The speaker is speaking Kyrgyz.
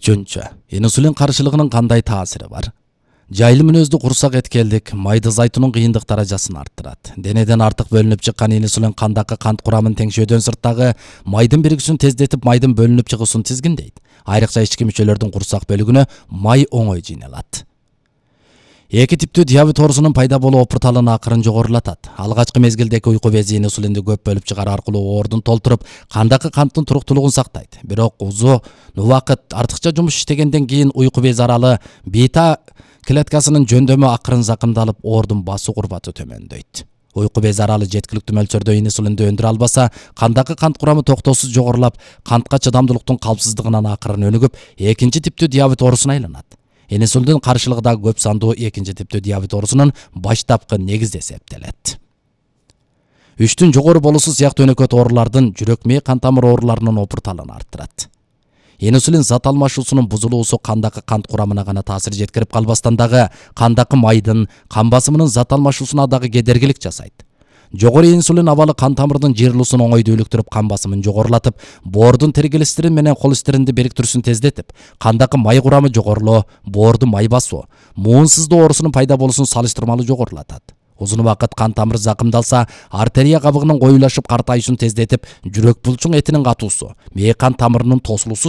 Үчүнчү, инсулин каршылыгынын кандай таасири бар? Жайыл мүнөздүү курсак эткелдик майда зайтунун кыйындык даражасын арттырат. Денеден артык бөлүнүп чыккан инсулин кандагы кант курамын теңшөөдөн сырттагы майдын биригүүсүн тездетип, майдын бөлүнүп чыгуусун тизгиндейт. Айрыкча ички мүчөлөрдүн курсак бөлүгүнө май оңой жыйналат. Эки типтүү диабет оорусунун пайда болуу опурталын акырын жогорулатат. Алгачкы мезгилдеги уйку бези инсулинди көп бөлүп чыгаруу аркылуу оордун толтуруп, кандагы канттын туруктуулугун сактайт. Бирок узун убакыт артыкча жумуш иштегенден кийин уйку бези аралы бета клеткасынын жөндөмү акырын закымдалып, оордун басуу курбаты төмөндөйт. Уйку бези аралы жеткиликтүү мөлчөрдө инсулинди өндүрө албаса, кандагы кант курамы токтоосуз жогорулап, кантка чыдамдуулуктун калпсыздыгынан акырын өнүгүп, экинчи типтүү диабет оорусуна айланат. Инсулиндин каршылыгы да көп сандуу экинчи типтүү диабет оорусунун баштапкы негизи эсептелет. 3-түн жогору болуусу сыяктуу өнөкөт оорулардын жүрөк мээ кан тамыр ооруларынын опурталын арттырат. Инсулин зат алмашуусунун бузулуусу кандагы кант курамына гана таасир жеткирип калбастан дагы кандагы майдын, кан басымынын зат алмашуусуна дагы кедергилик жасайт. Жогору инсулин абалы кан тамырдын жыйрылуусун оңой дүүлүктүрүп, кан басымын жогорулатып, боордун тригглистерин менен холестеринди бириктирүүсүн тездетип, кандагы май курамы жогорулоо, боордун май басуу, муунсуздуу оорусунун пайда болуусун салыштырмалуу жогорулатат. Узун убакыт кан тамыр закымдалса, артерия кабыгынын коюлашып картайышын тездетип, жүрөк булчуң этинин катуусу, мээ кан тамырынын тосулуусу